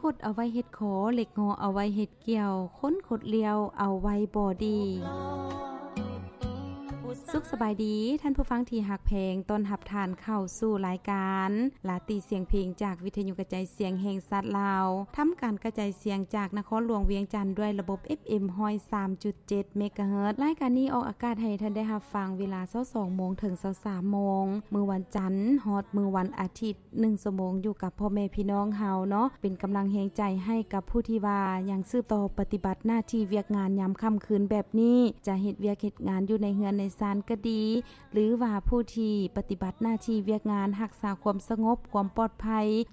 ຄົດເອົາໄວ້ເຮັດຂໍ ເຫຼັກງໍເອົາໄວ້ເຮັດກ່ຽວ ຄົນຄົດລ້ຽວເອົາໄວ້ບໍ່ດີ. ສຸກສະບາຍດີ ທ່ານຜູ້ຟັງທີ່ຮັກແພງ, ຕ້ອນຮັບທ່ານເຂົ້າສູ່ລາຍການລາຕີສຽງເພງ ຈາກວິທະຍຸກະຈາຍສຽງແຫ່ງຊາດລາວ, ທຳການກະຈາຍສຽງຈາກນະຄອນຫຼວງວຽງຈັນ ດ້ວຍລະບົບ ເອຟເອັມ ຮ້ອຍສາມຈຸດເຈັດ ເມກາເຮີດ. ລາຍການນີ້ອອກອາກາດໃຫ້ທ່ານໄດ້ຮັບຟັງເວລາ ຊາວສອງໂມງ ເຖິງ ຊາວສາມໂມງ ມື້ວັນຈັນ ຮອດມື້ວັນອາທິດ ໜຶ່ງຊົ່ວໂມງ ຢູ່ກັບພໍ່ແມ່ພີ່ນ້ອງເຮົາເນາະ. ເປັນກຳລັງແຮງໃຈໃຫ້ກັບຜູ້ທີ່ວ່າຍັງສືບຕໍ່ປະຕິບັດໜ້າທີ່ວຽກງານຍາມຄ່ຳຄືນແບບນີ້, ຈະເຮັດວຽກເຮັດງານຢູ່ໃນເຮືອນໃນຊານກໍດີ ຫຼືວ່າຜູ້ທີ່ປະຕິບັດໜ້າທີ່ວຽກງານຮັກສາຄວາມສະຫງົບ ຄວາມປອດໄພ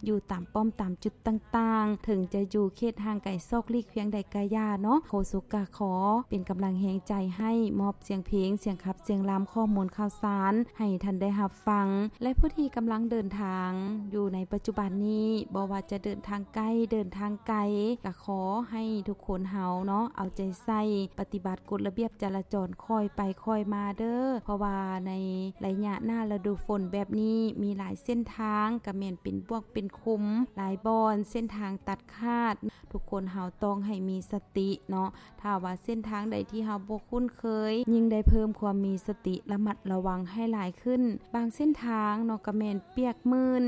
ຢູ່ຕາມປ້ອມຕາມຈຸດຕ່າງໆ, ເຖິງຈະຢູ່ເຂດຫ່າງໄກຊອກຫຼີກພຽງໃດກະຢ່າເນາະ. ໂຄສົກກະຂໍເປັນກຳລັງແຮງໃຈໃຫ້, ມອບສຽງເພງ, ສຽງຂັບ, ສຽງລຳ, ຂໍ້ມູນຂ່າວສານໃຫ້ທ່ານໄດ້ຮັບ ຟັງ ແລະ ຜູ້ທີ່ກຳລັງເດີນທາງຢູ່ໃນປັດຈຸບັນນີ້, ບໍ່ວ່າຈະເດີນທາງໃກ້ ເດີນທາງໄກ, ກະຂໍໃຫ້ທຸກຄົນເຮົາເນາະ ເອົາໃຈໃສ່ ປະຕິບັດກົດລະບຽບຈະລາຈອນ ຄ່ອຍໄປຄ່ອຍມາເດີ້. ເພາະວ່າໃນໄລຍະໜ້າລະດູຝົນແບບນີ້ ມີຫຼາຍເສັ້ນທາງ ກະແມ່ນເປັນບວກເປັນຂຸມ, ຫຼາຍບ່ອນ ເສັ້ນທາງຕັດຂາດ, ທຸກຄົນເຮົາຕ້ອງໃຫ້ມີສະຕິເນາະ. ຖ້າວ່າເສັ້ນທາງໃດທີ່ເຮົາບໍ່ຄຸ້ນເຄີຍ, ຍິ່ງໄດ້ເພີ່ມຄວາມມີສະຕິ ລະມັດລະວັງໃຫ້ຫຼາຍຂຶ້ນ. ບາງເສັ້ນທາງເນາະ ກະແມ່ນປຽກມື່ນ,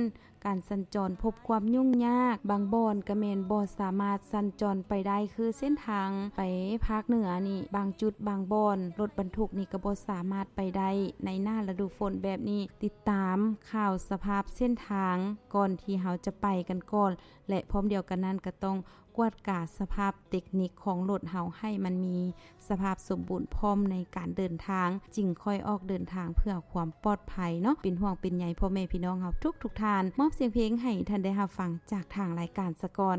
ການສັນຈອນພົບຄວາມຫຍຸ້ງຍາກ, ບາງບ່ອນກະແມ່ນບໍ່ສາມາດສັນຈອນໄປໄດ້, ຄືເສັ້ນທາງໄປພາກເໜືອນີ້, ບາງຈຸດບາງບ່ອນ ລົດບັນທຸກນີ້ກະບໍ່ສາມາດໄປໄດ້ໃນໜ້າລະດູຝົນແບບນີ້. ຕິດຕາມຂ່າວສະພາບເສັ້ນທາງກ່ອນທີ່ເຮົາຈະໄປກັນກ່ອນ ແລະ ພ້ອມດຽວກັນນັ້ນກະຕ້ອງກວດກາສະພາບເຕັກນິກຂອງລົດເຮົາໃຫ້ມັນມີສະພາບສົມບູນພ້ອມໃນການເດີນທາງ, ຈຶ່ງຄ່ອຍອອກເດີນທາງເພື່ອຄວາມປອດໄພເນາະ. ເປັນຫ່ວງເປັນໃຍພໍ່ແມ່ພີ່ນ້ອງເຮົາທຸກໆທ່ານ. ມອບສຽງເພງໃຫ້ທ່ານໄດ້ຮັບຟັງຈາກທາງລາຍການສາກ່ອນ.